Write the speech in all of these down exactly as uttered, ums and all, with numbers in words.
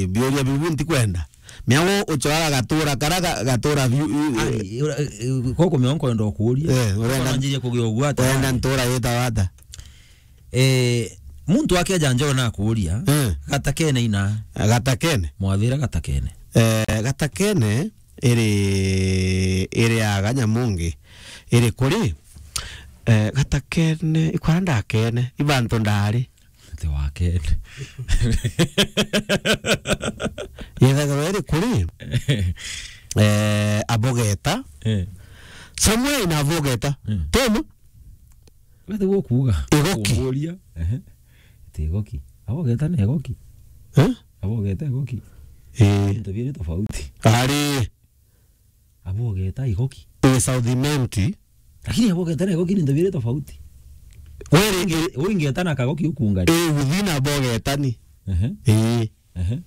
biuria biu ntikwenda. Mea wo ucwara gatura kara ga-, gatura biu, i-, i-, Ai, ura-, i-, i-, koko mea nkwenda ukuria. Eh, urenda, Kwanjirie kugia ugwata. Urenda ntura yitawa ata? Eh, muntu akeja njoo na akuria, Eh. Gatakene ina. Gatakene? Mwathira Gatakene. Eh, Gatakene iri, iri aga Nyamungi. Iri kuri? Eh, Gatakene, ikwara ndakene, ibantu ndari. Ati wakene. Yethagirwa iri kuri? Eh, Abogeta. Eh. Somewhere in Abogeta. Mm. Tuma? Gati gukuuga. Igoki. Kumburia. Ehe. Ati igoki. Abogeta na igoki. Eh? Abogeta igoki. Eh. Into biiri tofauti. Ari. Abogeta igoki. Eh, South Imenti. Lakini abogeta na igoki ni into biiri tofauti. Weri Inge-, uingeta na kagoki ukungari. Eh, within Abogeta ni. Ehe. Eh. Ehe.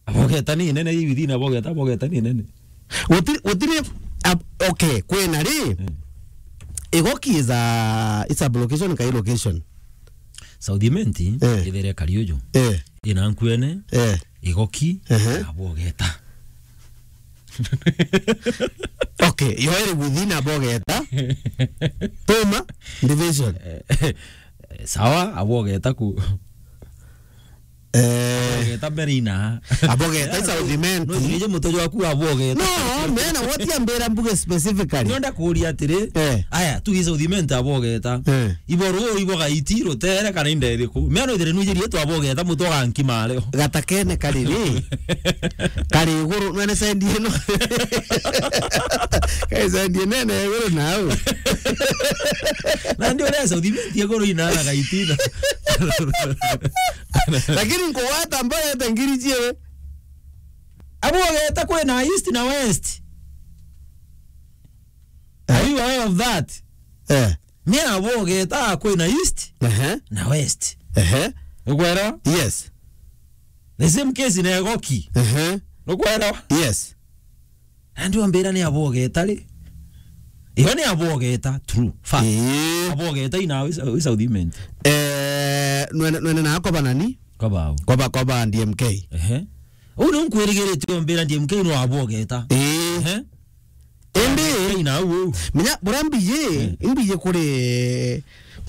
Abogeta ni nene, ibi thina abogeta, abogeta ni nene. Gutiri, gutiri, ab-, okay, kwina ri? Eh. Igoki is a, is a location, kai location? South Imenti, Eh. Ithere Kariuju. Eh. Ina nkuene, Eh. Igoki, Ehe. Abogeta. Okay, yo iri within Abogeta. Tuma, division. Eh, sawa, Abogeta ku. Eh. Abogeta mbere ina. Abogeta South Imenti. No, nije mutojo waku Abogeta. No, mena what ambira mbuge specifically. Nonda kuria atiri. Eh. Aya, tu South Imenti Abogeta. Eh. Ibo ru, ibo gaiti, rutere, kana inde iriku. Mea no ithire nwijirie tu Abogeta, mutu agankima ario. Gatakene kari ri? Kari iguru, nwene sendi ino. Kai sendi nene iguru nau. Na ndio ria South Imenti iguru ina na gaiti na. Lakini nkugwata Abogeta ngiri ciewe. Abogeta kwina East na West. Are you aware of that? Eh. Ni Abogeta kwina East Ehe. Na West. Ehe. Nukwelewa? Yes. The same case na Igoki. Ehe. Nukwelewa? Yes. Na ndio mbira ni Abogeta ri? Iyo ni Abogeta, true. Fact. Ii. Abogeta ina wi South Imenti. Eh, nwene, nwene na koba nani? Koba au. Koba, koba D M K. Ehe. Uu ni nkwirigirite mbira D M K no Abogeta. Ii. Ehe. Indi, ina au. Menya, bura mbiye, Eh. Imbiye kuri,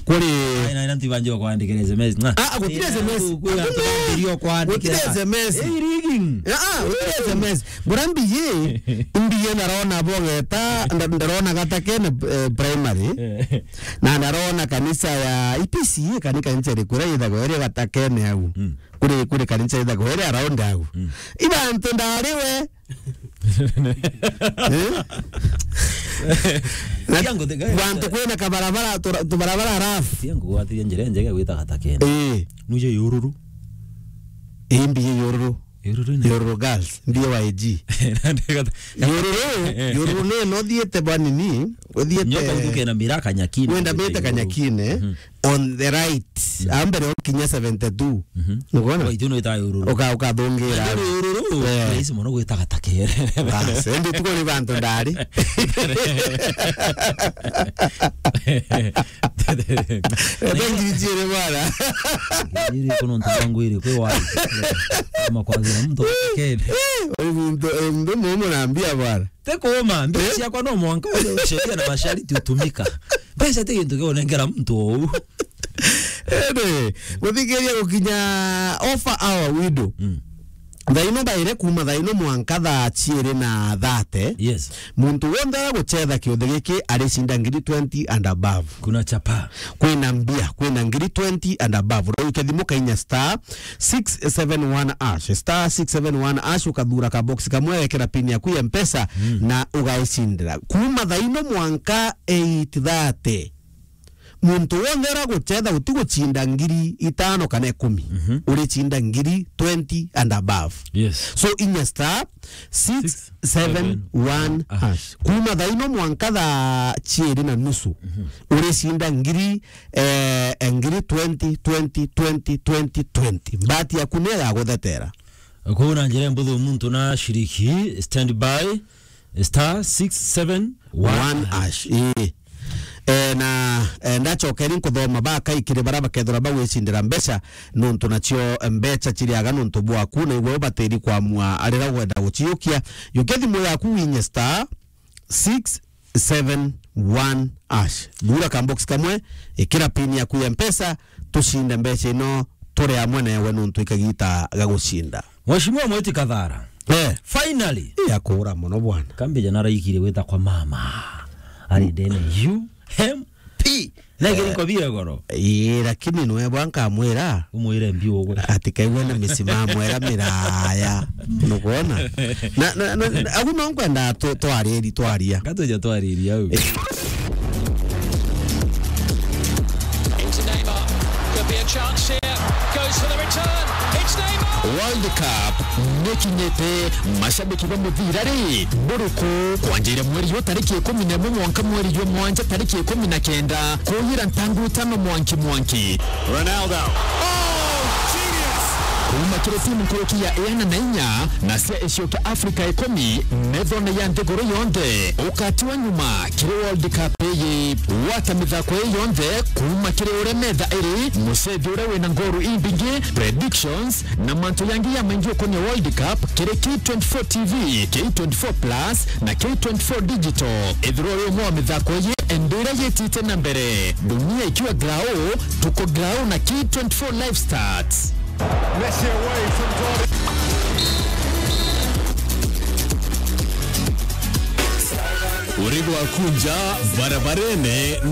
kuri. Ai, na, na ntibanjwa kwandikira S M S. Nga. Ah, gutire S M S. Ku, ku, Hakuna. Ntibanjwa kwandikira. Gutire S M S. Eh, rigging. Ah, ah, gutire S M S. Bura mbiye, imbiye ndarona Abogeta, nda-, ndarona Gatakene, eh, primary. Eh. Na ndarona kanisa ya E P C A, kani kanisa iriku iria yithagwa iri Gatakene au. Mm. Kuri, kuri kanisa yithagwa iri around au. Mm. Ibantu ndari we. Eh? Na Tiangu tiga-, bantu kwina kabarabara, tura-, tubarabara rough. Tiangu gwatiria njira njega gwita Gatakene. Eh. Nuje Yururu. Imbi Yururu. Yururu ni Yururu girls, ndiye Y G. Nandi gata-, Yururu, eh. Yururu ni no thiete bwa nini, uthiete Nyoka utuke na miraka Nyakine. Wenda mite Kanyakine, Mhm. On the right. Mhm. Ambere ukinya seventy-two. Mhm. Nugona? Wa itu no ita Yururu. Uka-, ukathungira. Nandi Yururu, Eh. Rais mono gwita Gatakene. Bas, endi tuko ni bantu ndari. Ebe ngiri ciere bwana. Ngiri kono ntu wangu iri kwe wa. Kama kwa zira mtu Gatakene. Oi muntu, eh, muntu mumu nambia bwana. Te kuuma, mbeca Eh? Ciakwa no mwanka uria sheria na masharti utumika. Mbeca ti gintu kia unengera muntu ou. Ende, muthikiria gukinya offer hour window. Mm. Thaa ino thaire kuuma thaa ino mwanka thaa ciiri na thate. Yes. Muntu wonthe ara gucetha kiuthi giki aricinda ngiri twenty and above. Kuna chapa. Kwina mbia, kwina ngiri twenty and above. Urauke thimu kainya star six seven one hash, star six seven one hash, ukathura ka box kamwe, wekera pin yaku ya Mpesa, Mm. Na ugaicindira. Kuuma thaa ino mwanka eight thirty, muntu wonthe ara gucetha utigucinda ngiri itano kana ikumi, Mhm. Uricinda ngiri twenty and above. Yes. So, inya star six seven one hash. Kuuma thaa ino mwanka thaa ciiri na nusu, Mhm. Uricinda ngiri, eh, ngiri twenty, twenty, twenty, twenty, twenty. Mbati yaku ni ya guthetera. Kwou na njira mbuthu muntu na shiriki, stand by, star six seven one hash. Ii. E, na, e, ndacokeri nkuthoma bakai kiri baria bakethirwa bagwicindira mbeca, nontu nacio mbeca ciriaga nontu bwaku, na igwe ubatiri kwamua arira wenda guciukia. Yukia thimu yaku winye star six seven one hash. Thura ka box kamwe, ikira pin yaku ya Mpesa, tucinde mbeca ino turi amwe newe nontu ikagita ga gucinda. Mheshimiwa Mweti Kathara. Eh. Finally. Iya kuura mono bwana. Kambija naraikire gwita kwa mama. Ari ndene U M P. Na kiri nkobia goro. Ii, lakini nwe bwa nkamwira. Umwire mbi ugwe. Ati kaigwe na misimamu era miraya. Nukwona? Na, na, na, na, agu no nkwenda tu-, twariri, twaria. Gatuja twariri au. Into Neymar. Could be a chance here. Goes for the return. It's Neymar. World Cup nikinyite, mashabiki ba muthira ri, buriku? Kwanjire mweri jwa tariki ikumi na imwe mwanka mweri jwa mwanja tariki ikumi na kenda, kuyira ntangu itano mwanki mwanki. Ronaldo. Oh, genius! Kuuma kiri timu nkuruki ya iana na inya na cia icio kia Afrika ikumi, methone ya nthiguru yonthe, ukatiwa nyuma kiri World Cup iyi. Gwata mithako ii yonthe kuuma kiri uria metha iri, mucethi uria wina ngoru imbingi, predictions, na mantu jangi jamaingi ukonia World Cup kiri K twenty-four T V, K twenty-four Plus, na K twenty-four Digital. Ethirwa uri umwe wa mithako iji, enda iria yitite na mbere. Dunia ikiwa grau, tuko grau na K twenty-four Live Stats. Messi away from goal. Uri gwaku nja barabarene.